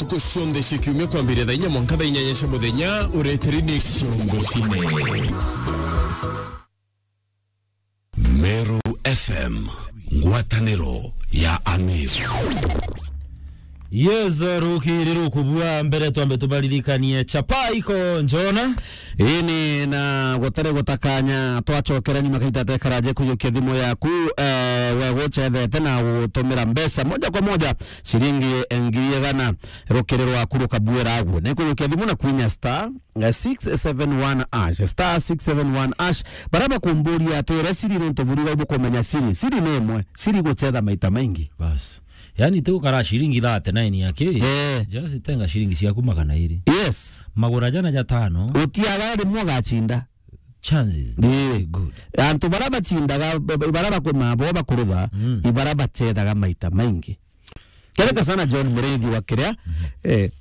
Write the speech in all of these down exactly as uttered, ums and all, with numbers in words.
Ntuku cionthe cia kiumia kwambiria thaa inya mwanka thaa inyanya cia muthenya, ureteri ni Ciongo Cine. Meru F M, ngwataniro ya Amiru. Yes, rukiri rukubua mbere twambe tubaririkanie chapa iko njona. Ini na gutari gutakanya twacokera nyuma kaita tekaraje kujukia thimu yaku, eh, we gucethete na gutumira mbeca moja kwa moja ciringi ngiri igana rukiri rwaku rukabuira agu. Ni kujukia thimu na kwinya star, eh, six seven one hash, star six seven one hash. Bara bakumburia twire siri nontu buri bau bukumenya siri. Siri ni imwe, siri gucetha maita maingi. Bas. Yani, ti gukara ciringi thirty-nine yake. Eh. Just tenga ciringi ciaku magana iri. Yes. Magura jana jatano. Utiaga rimwe ugacinda. Chances. Eh. Good. Antu bara bacindaga, ba-, ba-, bara bakuma bo bakurutha, mm, ibara bacethaga maita maingi. Kereka sana John Muriithi wa kiria, eh,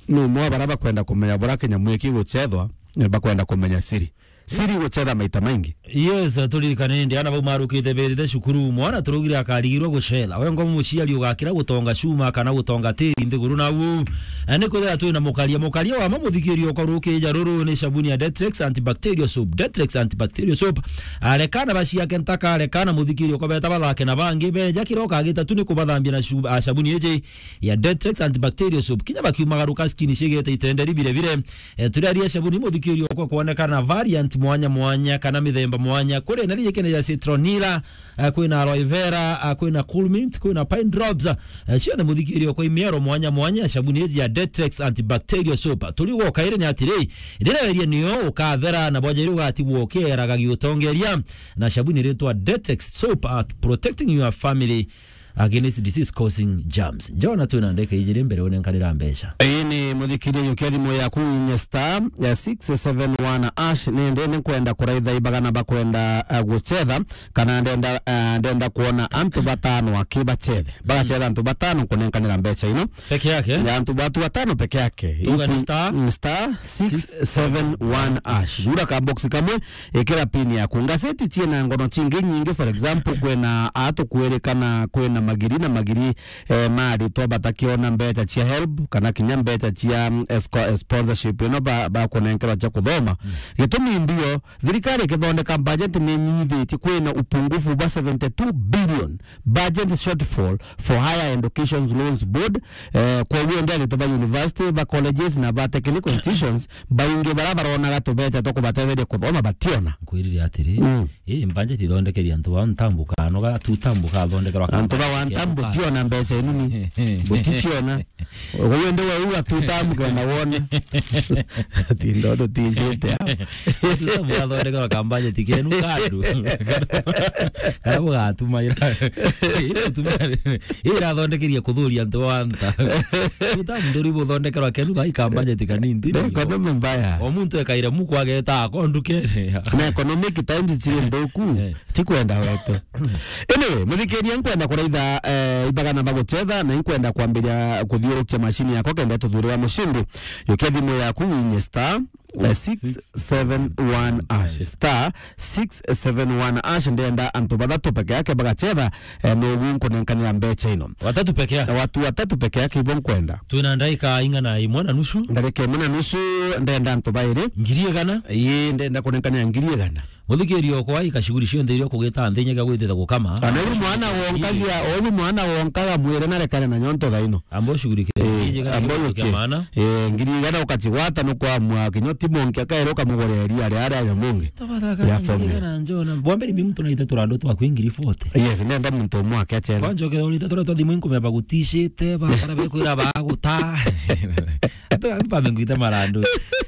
ni umwe wa bara bakwenda kumenya bura kinyamu iki gucethwa, eh, bakwenda kumenya siri. Siri gucetha maita maingi. Yes, turirikane ndi ana bau marukite birite cukuru. Mwana turaugire akarigirwa gucetha. We ngo muciari ugakira gutonga cuma kana gutonga tiri nthiguru nau. Eh, ni kwithira twina mukaria. Mukaria wa ma muthikiri okwa rukija ruru ni sabuni ya Detrex antibacterial soap. Detrex antibacterial soap. Arekana baciake ntaka, arekana muthikiri okwa beta bathake na bangi. Beja kira ukagita tu ni kubathambia na cu-, a, sabuni iji ya Detrex antibacterial soap. Kinya bakiumagaruka skin cigete itenderi bire bire. Eh, turaria sabuni muthikiri okwa kwonekana variant mwanya mwanya kana mithemba mwanya. Kuri na rijikene ya citronella, eh, kwina aloe vera, eh, kwina cool mint, kwina pine drops. Eh, cio ni muthikiri okwa imiero mwanya mwanya ya sabuni iji ya Detrex antibacterial soap. Turi gwoka iri ni atiri, ndireweria niyo ukathera na bwaja iri ugatigwo ukieraga giutongeria na sabuni ritwa Detrex soap at protecting your family against disease causing germs. Jona twina ndeka ijiri mbere unenkanira mbeca. Ii ni muthikiria, yukia thimu yaku inye star, eh, six seven one hash. Ni ndi ni nkwenda kuraitha ibagana bakwenda, eh, gucetha, kana ndenda, eh, ndenda kuona antu batano aki bacethe. Bagacetha antu batano kunenkanira mbeca ino. Peke yake? Ya antu batu batano peke yake. Tuga ni star? Mm, star six seven one hash. Gura ka box kamwe, ikira pin yaku. Ngaseti ciina ngono cingi nyingi, for example, kwina atukwirikana kwina magiri na magiri, eh, ma aritwa batakiona mbeca cia help, kana kinya mbeca cia, mm, esco-, eh, sponsorship ino ba, bakunenkerwa cia kuthoma. Mm. Gitumi mbio, thirikari ikithondeka budget ni nyithitie kwina upungufu bwa seventy two billion budget shortfall for Higher Education Loans Board. Eh, kwoguo ndi aritwa ba university, ba colleges na ba technical institutions, baingi bara baronaga tubeca twa kubatetheria kuthoma bationa. Nkwirire atiri, mm, ii budget ithondekeria antu ba ntambuka, noga tu tambuka thondekerwa. Antu ba wa ntambu tiona mbeca inuni. Buticiona. Uguo ndi we uga tu tambuka na wona. Ati ndo tuticite hapo. Ati ndo murathondeka kambajeti kenu kandu. Kana bugatuma ira. Ira irathondekeria kuthuria antu wa nta. Uta mnduri buthondekerwa kenu thaa ikambajeti kanini. Ndio economy mbaya. O muntu ekaire muku ageta akondu kere. Na economic times ciri nthuku. Eh. Ti kwenda wetu. Anyway, muthikiria, nkwenda kuraitha, eh, ibagana bagucetha, na nkwenda kwambiria kuthiurukia mashini yakwa kenda tuthurira mushindi. Yukia thimu yaku winye star, eh, six seven one hash, star six seven one hash. Ndenda antu bathatu peke yake bagacetha, eh, nogu nkunenkanira mbeca ino. Watatu peke yake? Watu watatu peke yake ibo nkwenda. Twina ndaika ing'ana imwe na nusu? Ndarika imwe na nusu, ndenda antu bairi. Ngiri igana? Ii, ndenda kunenkanira ngiri igana. Muthikiria okwa ika shughuli cionthe iria ukugita nthi inya gia gwititha gukama. Kana uyu mwana wonkagia, uyu mwana wonkaga mwire na rekane na nyonto thaino. Amba ushughulikire. Eh, amba ujukie. Eh, ngiri igana ukacigwata nukwamua kinya ti monki akaeruka mugore ria ria ria ya mungi. Tabatha ya kana family. Ngiri igana njona. Bwambere mimi mtu naite turandu twa kwi ngiri forty. Yes, nenda muntu umwe ake achere. Kwanja ukethorite turia twa thimu inkumeba gutishite, ba, kana bekwira baguta. Atu ampa mengwita marandu.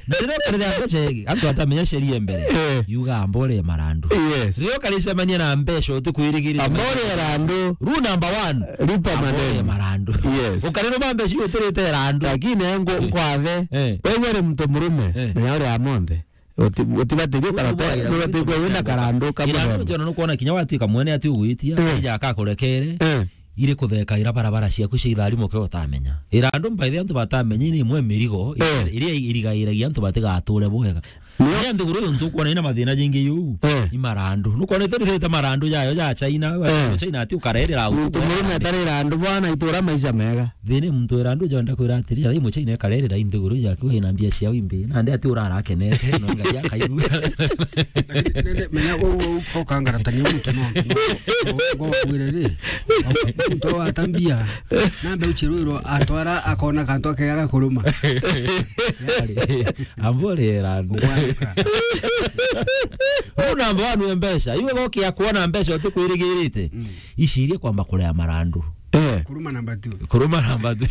Na rĩrĩa ũkarĩrĩa mbeca, antu atamenya sheria mbere. Eh. Yuga ambore marandu. Yes. Rĩrĩa ũkarĩcemania na mbeca ũtĩkwĩrĩgĩrĩra. Ambore randu. Rule number one. Lipa madeni. Ambore marandu. Yes. Ũkarĩrũma mbeca iria ũtĩrĩte randu. Lakini ngo-, eh, nkwathe. Eh. Wewe uri mtu murume. Eh. Na yale amonde. Uti-, utibatĩrie karata, nĩ batĩkwo wĩna karandu kamwe. Ira ndio ndio kuona kinya watuika mwene ati ugwitia, eh, ija akakurekere. Eh. Iri kuthekaira barabara ciaku cia ithari muke utamenya. Ira andu mbaithe antu batamenya ni imwe mirigo, eh, iria irigairagia antu batigature bwega. Nio. Ni antu guru yontu kuona ina mathina jingi yu. Eh. I marandu. Nukwonete ririte marandu jayo ja China, eh, China ati ukarerera au. Muntu murume atarira andu bwana itura maisha mega. Thina muntu wira andu jonda kwira atiri, ai Muchina ikarerera i nthiguru yake, wina mbia ciao imbi. Nandi ati urara akenete, no Ngai akaigua. Lakini nende, menya gu-, gu-, gukangaratania muntu no, no, no, ngwire ri, muntu wata mbia, nambe uchirwirwo atwara akona kantu akega gakuruma. Yari, ambore randu. Ugwaruka. Uu namba one nwe mbeca. Iwe gokia kuona mbeca utikwirigirite. Mm. Icirie kwamba kurea marandu. Eh. Kuruma namba two. Kuruma namba two.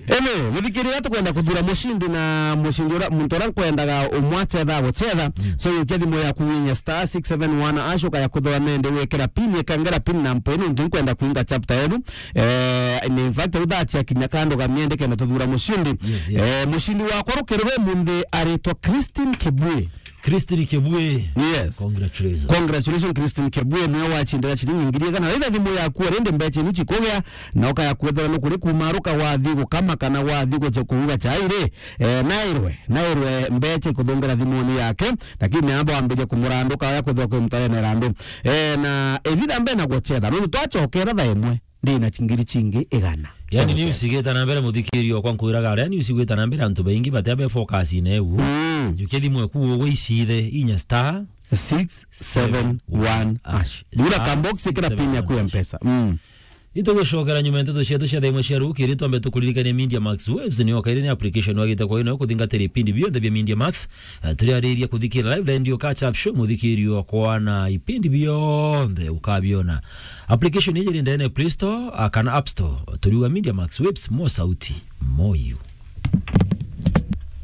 Anyway, muthikiria tukwenda kuthura mucindi na mucindi ura, muntu ura nkwendaga umwachetha guchetha. Mm. So, yukia thimu yaku winya star six seven one hash ukaya kuthura nende wikira pin, ikangera pin na mpwe nuntu nkwenda kuinga chapter yenu. Eh, in fact, uthacia kinya kando ga miende kenda tuthura mucindi. Yes, yes. Eh, mucindi wakwa rukiri rwe munthi aritwa Christine Kibui. Christine Kibue. Yes. Congratulations. Congratulations, Christine Kibue, niwe wachindira chiringi ngiri igana. Raitha thimu yaku, rindi mbecha inu chikugia, na ukaya kwethira ni kuri kumaruka wathi gukama kana wathi guche kuuga chai ri. Eh, nairwe, nairwe mbecha ikuthungera thimuni yake, lakini amba wambiria kumuranduka ya kwithirwa kwi mutare na irandu. Eh, na ethira mbe na guchetha, nuntu twachokera thaa imwe. Ndina chingiri chingi igana. Yani, cia news guchetha. Igita na mbere, muthikirio kwa nkwiraga, aria news igwita na mbere, antu baingi batia be focus ine egu. Mm. Jukia thimu eku ugwe icithe inya star six seven one hash. Dura star kambox ikira pin yaku ya six seven one hash. Mpesa. Mm. Itugucokera nyuma ya nteto cietu cia thaa imwe cia rukiri, twambe tukuririkanie Media Max Waves ni okaire ni application wagite kwa ino kuthingatira ipindi bionthe bia Media Max. Eh, turiariria kuthikira live radio catch up show, muthikirio kwa na ipindi bionthe ukabiona. Application iji iri ndene Play Store, ah, kana App Store. Turiuga Media Max Waves, mo sauti, mo you.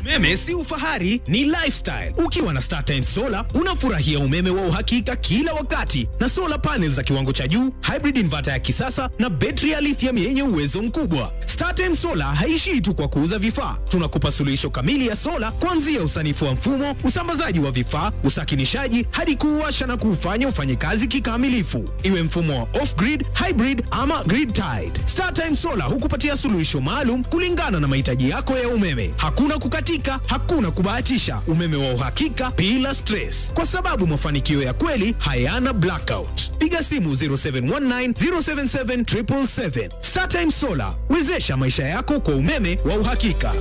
Umeme si ufahari, ni lifestyle. Ukiwa na StarTimes Solar, unafurahia umeme wa uhakika kila wakati, na solar panels za kiwango cha juu, hybrid inverter ya kisasa, na betri ya lithium yenye uwezo mkubwa. StarTimes Solar haishii tu kwa kuuza vifaa. Tunakupa suluhisho kamili ya sola, kuanzia usanifu wa mfumo, usambazaji wa vifaa, usakinishaji, hadi kuuwasha na kuufanya ufanye kazi kikamilifu. Iwe mfumo wa off-grid, hybrid ama grid-tied, StarTime Solar hukupatia suluhisho maalum kulingana na mahitaji yako ya umeme. Hakuna kukatika, hakuna kubahatisha, umeme wa uhakika bila stress. Kwa sababu mafanikio ya kweli hayana blackout. Piga simu zero seven one nine, zero seven seven, triple seven. StarTime Solar, wezesha maisha yako kwa umeme wa uhakika.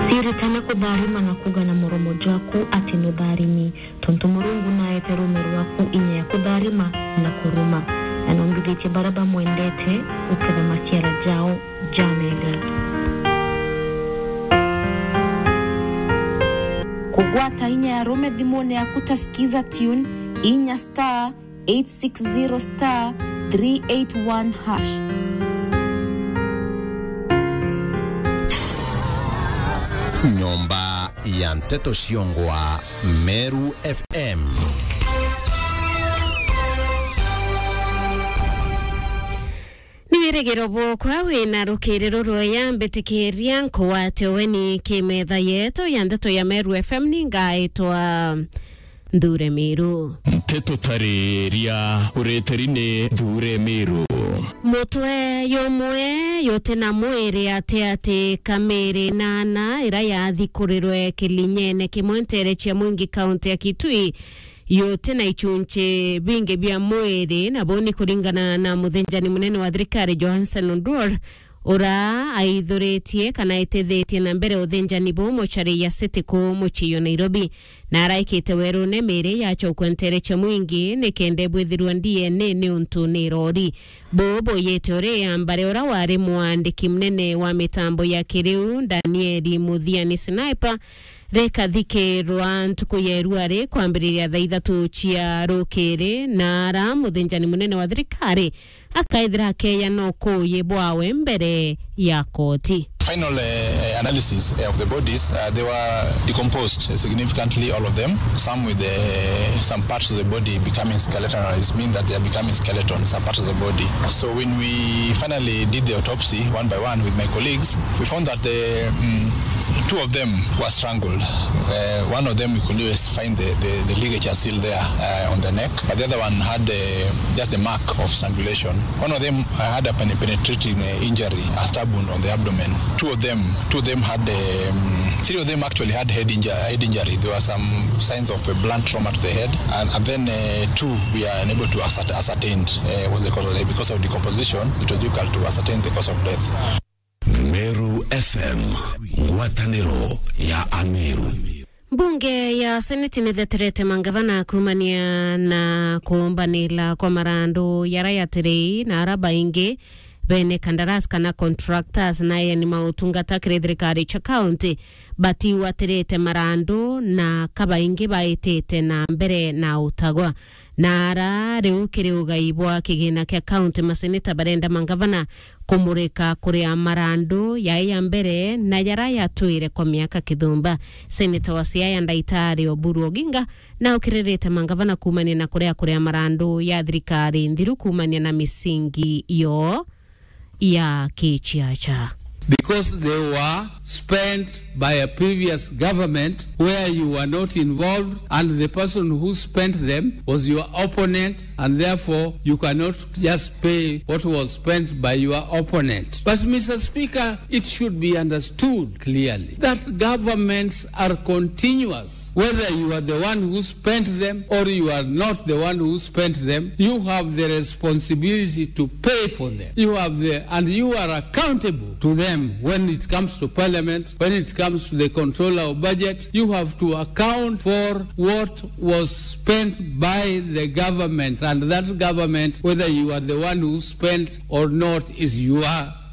Ciritane kutharima na kuuga na muromo jwaku ati nutharimi, tontu Murungu naete ruume rwaku inya ya kutharima na kuruma, na nombithitie baria bamwendete guketha maciara jao. Jamega. Kugwata inya ya rume thimune yaku ta Skiza Tune, inya star eight six zero star three eight one hash. Nyomba ya Nteto Ciongwa, Meru F M. Ni wirigiro bwokwa wina rukiri rurweya, mbitikiria nkugwate ugeni kimetha yetu ya ndeto ya Meru F M, ni ngaitwa Nthure Miru. Nteto tariria ureteri ni Nthure Miru. Mutwe yumwe yuti na mwiri ati ati kamiri nana ira yathikurirwe kilinyene kimwe ntere cia Mwingi, kaunti ya Kitui, yuti na ichunchi bingi bia mwiri, na buu ni kuringana na muthinjani munene wa thirikari Johansen Oduor, ura aithuritie kana aitithitie na mbere uthinjani buu mochari ya City kuu mucii jwa Nairobi, na araikite werune miiri yachokwe ntere cia Mwingi nikenda ibwithirwa D N A niuntu ni irori. Buu buyite uri ya mbare ura wari mwandiki munene wa mitambo ya kiriu Danieli Muthiani Sniper rikathikirwa ntuku ya irua ri kwambiriria thaa ithatu cia rukiri, na ara muthinjani munene wa thirikari akaithira akeya no kuuyi bwawe mbere ya koti. Final, eh, analysis, eh, of the bodies, uh, they were decomposed significantly, all of them. Some with, uh, some parts of the body becoming skeletonized, mean that they are becoming skeleton, some parts of the body. So when we finally did the autopsy one by one with my colleagues, we found that the, mm, Two of them were strangled. Uh, one of them, you could always find the, the, the ligature still there uh, on the neck, but the other one had uh, just a mark of strangulation. One of them uh, had a pen- penetrating uh, injury, a stab wound on the abdomen. Two of them, two of them had, um, three of them actually had head, inju- head injury. There were some signs of a blunt trauma to the head, and, and then uh, two we are unable to ascert- ascertain uh, was the cause of death. Because of decomposition, it was difficult to ascertain the cause of death. Meru F M, ngwatanĩro ya Ameru. Mbunge ya Seneti nitheterete mangavana kumania na kuumbanila kwa marandu yara yatiri na ara baingi bene kandarasi kana contractors na eeni mautungata kiri thirikari cia kaunti batiwatirite marandu na kabaingi baitite na mbere na utagwa. Na ara riu kiri ugai bwa kigina kia kaunti, maseneta barenda mangavana kumurika kuria marandu yai ya mbere na yara yatwire kwa miaka kithumba. Seneta wa Siaya Ndaitari Oburu Oginga na ukiririte mangavana kumania na kuria kuria marandu ya thirikari nthiru kumania na misingi yo ya kichiacha. Because they were spent by a previous government where you were not involved, and the person who spent them was your opponent, and therefore you cannot just pay what was spent by your opponent. But, Mister Speaker, it should be understood clearly that governments are continuous. Whether you are the one who spent them or you are not the one who spent them, you have the responsibility to pay for them. You have the, and you are accountable to them when it comes to parliament, when it comes to the controller of budget. You have to account for what was spent by the government, and that government, whether you are the one who spent or not, is your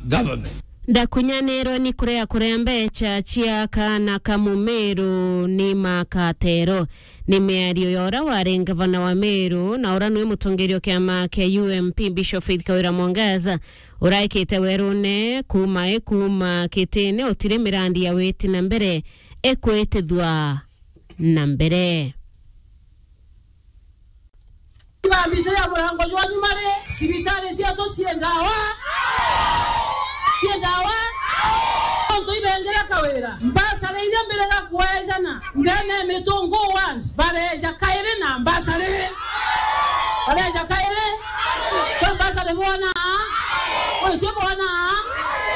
government. Ndakunyanirwe ni kuria kuria mbecha cia kaana ka Mumiru ni makatero. Ni miario ya uria wari ngavana wa Meru na uria niwe mutongeria wa kiama kia U M P, Bishop Faith Kawira Mwangaza, uraikite werune kuuma i kuuma kitine utiri mirandi ya witi na mbere ikwitithwa na mbere. Ibambite ya murango jwa nyuma ri, cibitari cietu cii ndawa, cii ndawa. Ontu ibengire Kawira, mbasari iria mbirega kwejana ndene ya Mitungu ward, bareja kairi na mbasari. Bareja kairi. Kwi mbasari bwonaa? Kwi cio bwonaa?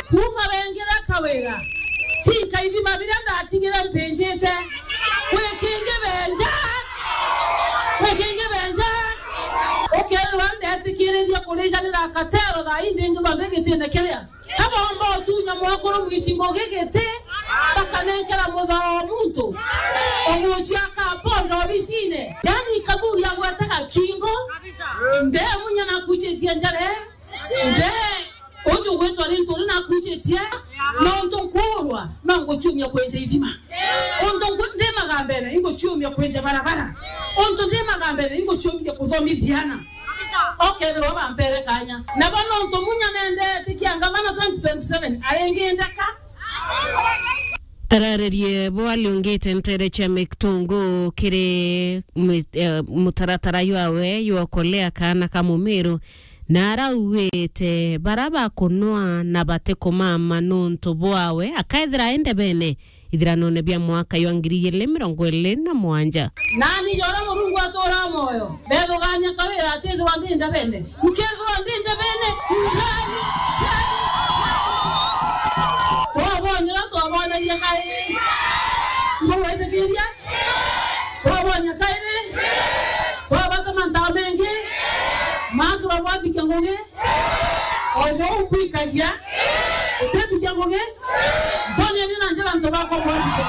Kuuma bengire Kawira, ti nkaithima biria ndatigire mpinjite. Kwi kingi benja. Kwi kingi benja. Ukethirwa ndetikiriria kurijanira katero thaa ii ndingi thonde gitine kiria. Kabomba utunya mwakuru Mwiti Ngugi giti, bakanenkera muthao wa muntu. Umucia akaponda obicine. Yani kathuri agwetaga kingo. Ndemunya nakucitie njare. Nde, uju gwitwa rintu ri nakucitie, nontu nkuurwa, no nguciumia kwenja ithima. Untu nku-, ndi magambene, inguciumia kwenja barabara. Untu ndi magambene, inguciumia kuthomithia ana. Okethirwa bampere kanya. Nabo nontu munya nendetikia ngavana twenty twenty-seven, aringindeka. Araririe bo aliungite ntere cia Mitungu kiri mi-, eh, mutaratara jwawe jwa kulea kaana ka Mumiru, na araugite bara bakunwa na batikumama nuntu bwawe akaethira e ndebene ithiranone bia mwaka jwa ngiri igiri mirongo iri na mugwanja. Nani jora Murungu atura moyo, mbethugania Kawira atithirwa ndi ndebene. Nkethirwa ndi ndebene, njani, njani, njani. Twabonera, twabonagia kairi. Mbugwitikiria? Twabonya kairi? Twabatuma ntaa mengi? Masura bwathikia ngugi? Ojo ukwikagia? Utithikia ngugi? Ntonieni na njira ntu bakwa bwathikia.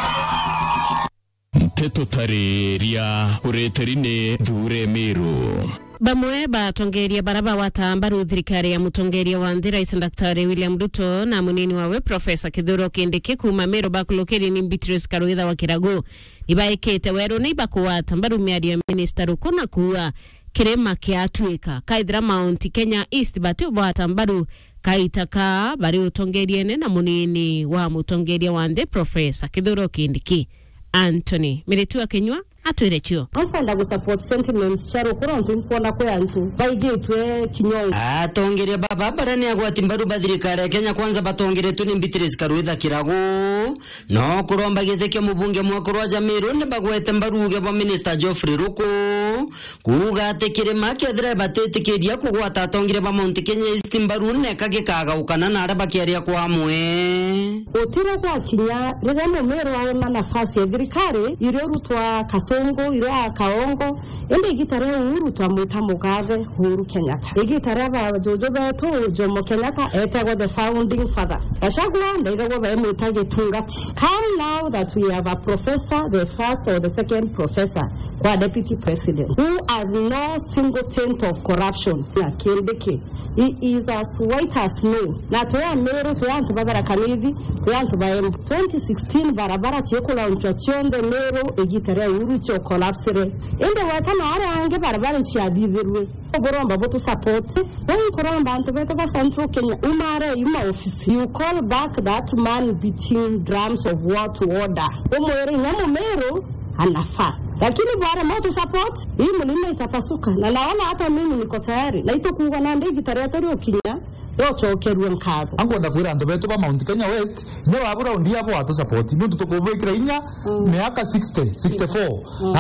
Nteto tariria ureteri ni Thure Miru. Bamwe batongeria bara bagwata mbaru thirikari ya mutongeria wa nthi, Rais Daktari William Ruto, na munini wawe Professor Kithure Kindiki kuuma Meru bakulukiri ni Beatrice Karwitha wa Kiragu. Nibaikite weru ni bakugwata mbaru miario ya Minister Ruku na kuuga kirima kiatuika kaithira Mount Kenya East batiugwata mbaru kaita ka bari utongeriene na munini wa mutongeria wa nthi Professor Kithure Kindiki. Anthony Miritu akinyua atwire cio. Nkwenda gu support sentiments cia Rukuru nontu nkwona kwi antu baigitwe kinyongo. Atongeria baba baria ni agwati mbaru ba thirikari ya Kenya Kwanza batongeretwe ni Beatrice Karwitha Kiragu, no kuromba giti kia mubunge mwekuru wa Jamiru ni bagwete mbaru uge bwa Minister Geoffrey Ruku, kuuga ati kirima kethira batitikiria kugwata atongeria ba Mount Kenya East mbaru neka gikagaukana na aria bakiaria kwa amwe. Gutire gwakinya riria Mumiru aona nafasi ya thirikari, irio rutwa Kasungu, irio a Kaongo, indi igita ria Uhuru twamwita mukathe Uhuru Kenyatta. Igita ria bajuju betu Jomo Kenyatta etagwa the founding father. Gachagua ndaigagwa baimwita gitungati. Come now that we have a professor, the first or the second professor kwa deputy president, who has no single taint of corruption. Na Kindiki, he is as white as snow. Na twi Amiru, twi antu ba Tharaka Nithi, twi antu ba Embu. Twenty sixteen barabara ciikulaunchwa cionthe Miru igita ria Uhuru cio collapsire. Indi gweta na aria angi barabara iciathithirue. Buromba butu support. Buu nkuromba antu betu ba Central Kenya, umare yu maofisi. You call back that man beating drums of war to order. Umwire inya Mumiru anafaa. Lakini bwaremwa tu support, hii mlima itapasuka. Na naona hata mimi niko tayari. Na itukuuga nandi igita rietu riukinya, riucokerua nkatho. Ankwenda kwira antu betu ba Mount Kenya West, inya wabura undi abo watu support. Nuntu tukubwikira inya miaka sixty, sixty-four.